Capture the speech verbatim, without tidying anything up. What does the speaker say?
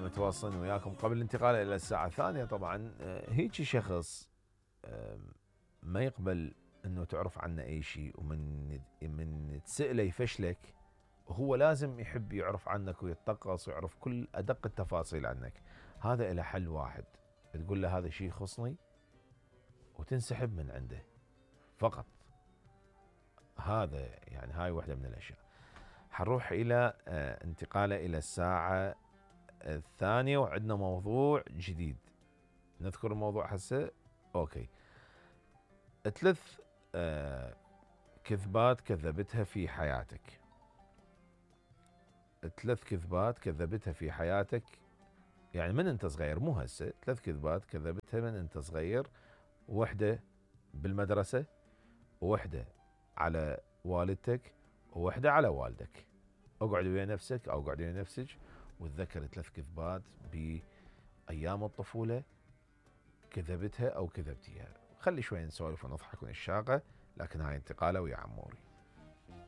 متواصلين وياكم قبل الانتقال الى الساعة الثانية. طبعا هيجي شخص ما يقبل انه تعرف عنه اي شيء، ومن من تسأله يفشلك، هو لازم يحب يعرف عنك ويتطقص ويعرف كل ادق التفاصيل عنك. هذا له حل واحد، تقول له هذا الشيء يخصني وتنسحب من عنده فقط. هذا يعني هاي واحدة من الاشياء. حنروح الى انتقاله الى الساعة الثانية وعندنا موضوع جديد. نذكر الموضوع هسه. اوكي. ثلاث آه كذبات كذبتها في حياتك. ثلاث كذبات كذبتها في حياتك، يعني من انت صغير، مو هسه. ثلاث كذبات كذبتها من انت صغير، وحدة بالمدرسة، وحدة على والدتك، ووحدة على والدك. اقعد ويا نفسك او اقعد ويا نفسك وتذكر ثلاث كذبات بأيام الطفولة كذبتها او كذبتيها. خلي شوي نسولف ونضحك ونشاقة، لكن هاي انتقالة ويا عموري.